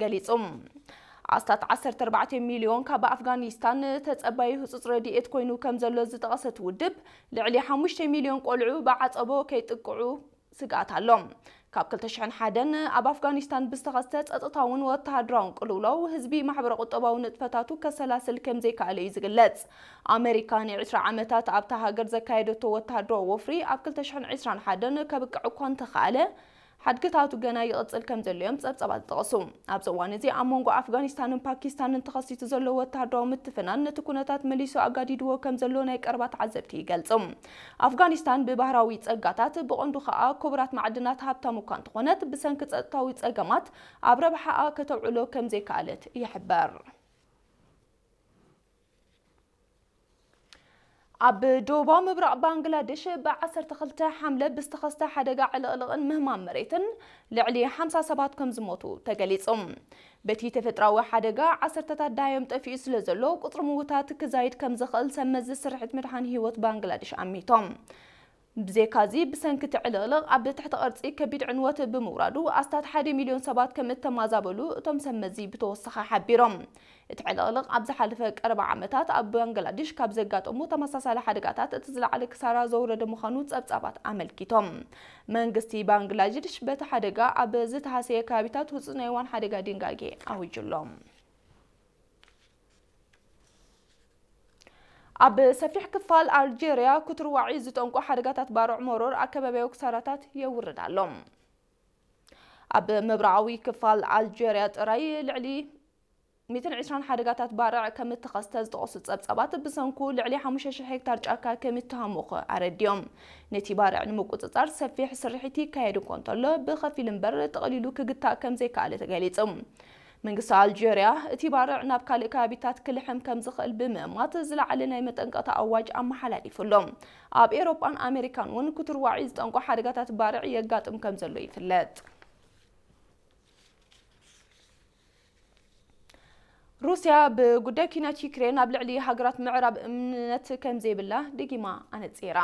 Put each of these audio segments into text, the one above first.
ገሊጹ። ኣስታት ዓሰርተ ኣርባዕተ ሚልዮን ካብ ኣፍጋኒስታን ተጸባዩ ህጹጽ ረድኤት ኮይኑ ከም ዘሎ ዝጠቐሰት ውድብ፣ ልዕሊ ሓሙሽተ ሚልዮን ቆልዑ ብዓጸቦ ከይጥቅዑ ስግኣት ኣሎ። ካብ ክልተ ሽሕን ሓደን ኣብ ኣፍጋኒስታን ብዝተኸስተ ጸጥታውን ወተሃደራውን ቅልውላው ህዝቢ ማሕበረ ቁጠባዊ ንጥፈታቱ ከሰላስል ከም ዘይከኣለ እዩ ዝግለጽ። ኣመሪካ ንዕስራ ዓመታት ኣብታ ሃገር ዘካየደቶ ወተሃደራዊ ወፍሪ ኣብ ክልተ ሽሕን ዕስራን ሓደን ከብቅዕ እኳ እንተኸኣለ፣ ሓድግታቱ ገና ይቕጽል ከም ዘሎ እዮም ጸብጻባት ዝጠቕሱ። ኣብዚ እዋን እዚ ኣብ መንጎ ኣፍጋኒስታንን ፓኪስታንን ተኸሲቱ ዘሎ ወተሃደራዊ ምትፍናን ነቲ ኩነታት መሊሱ ኣጋዲድዎ ከም ዘሎ ናይ ቀረባ ተዓዘብቲ ይገልጹ። ኣፍጋኒስታን ብባህራዊ ጸጋታት፣ ብቐንዱ ከኣ ክቡራት ማዕድናት ሃብታም እኳ እንተኾነት፣ ብሰንኪ ጸጥታዊ ጸገማት ኣብ ረብሓኣ ከተውዕሎ ከም ዘይከኣለት ይሕበር። ኣብ ደቡባዊ ምብራቕ ባንግላዴሽ ብ ዓሰርተ ክልተ ሓምለ ብዝተኸስተ ሓደጋ ዕልቕልቕን ምህማም መሬትን ልዕሊ ሓምሳ ሰባት ከም ዝሞቱ ተገሊጹ። በቲ ተፈጥራዊ ሓደጋ ዓሰርተታት ደሃዮም ጠፊኡ ስለ ዘሎ፣ ቁጽሪ ምውታት ክዛይድ ከም ዝኽእል ሰብ መዚ ስርሒት ምድሓን ህይወት ባንግላዴሽ ኣሚቶም። ብዘይካዚ፣ ብሰንኪ እቲ ዕልቕልቕ ኣብ ትሕቲ ቅርጺ ከቢድ ዕንወት ብምውራዱ፣ ኣስታት ሓደ ሚልዮን ሰባት ከም እተማዛበሉ እቶም ሰብ መዚ ብተወሳኺ ሓቢሮም። እቲ ዕልቕልቕ ኣብ ዝሓለፈ ቀረባ ዓመታት ኣብ ባንግላዴሽ ካብ ዘጋጠሙ ተመሳሳሊ ሓደጋታት እቲ ዝለዓለ ክሳራ ዘውረደ ምዃኑ ጸብጻባት ኣመልኪቶም። መንግስቲ ባንግላዴሽ በቲ ሓደጋ ኣብ ዝተሃሰየ ከባቢታት ህጹጽ ናይ እዋን ሓደጋ ድንጋጌ ኣዊጁ ኣሎ። ኣብ ሰፊሕ ክፋል ኣልጀርያ ክትርዋዒ ዝጠንቁ ሓደጋታት ባርዕ መሮር ኣከባቢያዊ ክሳራታት የውርድ ኣሎ። ኣብ ምብራቓዊ ክፋል ኣልጀርያ ጥራይ ልዕሊ ሚእትን ዕስራን ሓደጋታት ባርዕ ከም እተኸስተ ዝጠቐሱ ጸብጻባት፣ ብሰንኩ ልዕሊ ሓሙሽተ ሽሕ ሄክታር ጫካ ከም እተሃሙኸ ኣረዲኦም። ነቲ ባርዕ ንምቁጽጻር ሰፊሕ ስርሒት ይካየድ እኳ እንተሎ፣ ብኸፊል እምበር ጠቕሊሉ ክግታእ ከም ዘይከኣለ ተገሊጹ። መንግስቲ ኣልጀርያ፣ እቲ ባርዕ ናብ ካልእ ከባቢታት ክልሕም ከም ዝኽእል ብምእማት፣ ዝለዓለ ናይ መጠንቀቕታ ኣዋጅ ኣመሓላሊፉ ኣሎ። ኣብ ኤውሮጳን ኣሜሪካን እውን ክትርዋዒ ዝጠንቁ ሓደጋታት ባርዕ የጋጥም ከም ዘሎ ይፍለጥ። ሩስያ ብጉዳይ ኲናት ዩክሬን ኣብ ልዕሊ ሃገራት ምዕራብ እምነት ከም ዘይብላ ደጊማ ኣነጺራ።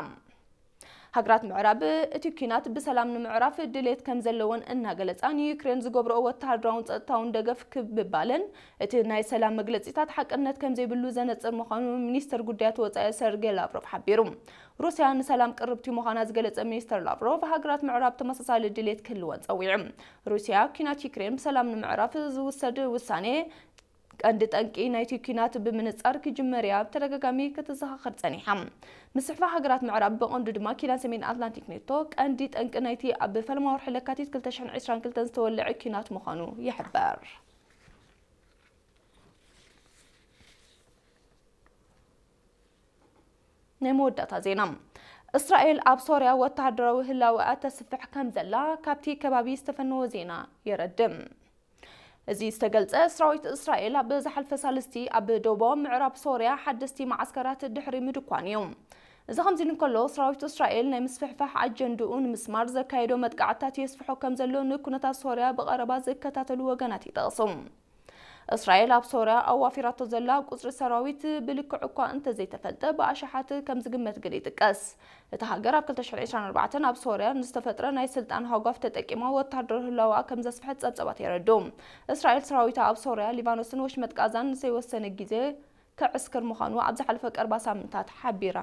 ሃገራት ምዕራብ እቲ ኲናት ብሰላም ንምዕራፍ ድሌት ከም ዘለወን እናገለጻ፣ ንዩክሬን ዝገብርኦ ወተሃደራውን ጸጥታውን ደገፍ ክብ ምባለን እቲ ናይ ሰላም መግለጺታት ሓቅነት ከም ዘይብሉ ዘነጽር ምዃኑ ሚኒስተር ጉዳያት ወጻኢ ሰርጌ ላቭሮቭ ሓቢሩ። ሩስያ ንሰላም ቅርብቲ ምዃና ዝገለጸ ሚኒስተር ላቭሮቭ፣ ሃገራት ምዕራብ ተመሳሳሊ ድሌት ክህልወን ጸዊዑ። ሩስያ ኲናት ዩክሬን ብሰላም ንምዕራፍ ዝውሰድ ውሳኔ ቀንዲ ጠንቂ ናይቲ ኲናት ብምንጻር ክጅመር እያ ብተደጋጋሚ ክትዘኻኸር ጸኒሓ። ምስሕፋ ሃገራት ምዕራብ፣ ብቐንዱ ድማ ኪዳን ሰሜን ኣትላንቲክ ኔቶ፣ ቀንዲ ጠንቂ ናይቲ ኣብ ፈለማ ወርሒ ለካቲት ክልተ ሽሕን ዕስራን ክልተን ዝተወልዐ ኲናት ምዃኑ ይሕበር። ናይ መወዳእታ ዜና። እስራኤል ኣብ ሶርያ ወተሃደራዊ ህላወኣ ተስፍሕ ከም ዘላ ካብቲ ከባቢ ዝተፈነወ ዜና የረድእ። እዚ ዝተገልጸ፣ ሰራዊት እስራኤል ኣብ ዝሓልፈ ሳልስቲ ኣብ ደቡባዊ ምዕራብ ሶርያ ሓደስቲ መዓስከራት ድሕሪ ምድኳን እዩ። እዚ ከምዚ እንከሎ፣ ሰራዊት እስራኤል ናይ ምስፍሕፋሕ ኣጀንድኡ ንምስማር ዘካየዶ መጥቃዕትታት የስፍሖ ከም ዘሎ ንኩነታት ሶርያ ብቐረባ ዝከታተሉ ወገናት ይጠቕሱ። እስራኤል ኣብ ሶርያ ኣዋፊራቶ ዘላ ቁጽሪ ሰራዊት ብልክዕ እኳ እንተዘይተፈልጠ፣ ብኣሽሓት ከም ዝግመት ግን ይጥቀስ። እታ ሃገር ኣብ ክልተ ሽሕን ዕስራን ኣርባዕተን ኣብ ሶርያ ንዝተፈጥረ ናይ ስልጣን ሃጓፍ ተጠቂማ ወተሃደራዊ ህላወኣ ከም ዘስፍሐት ጸብጻባት የረድኡ። እስራኤል ሰራዊታ ኣብ ሶርያ፣ ሊባኖስን ወሽመጥ ጋዛን ንዘይወሰነ ግዜ ከዕስክር ምዃኑ ኣብ ዝሓለፈ ቀረባ ሳምንታት ሓቢራ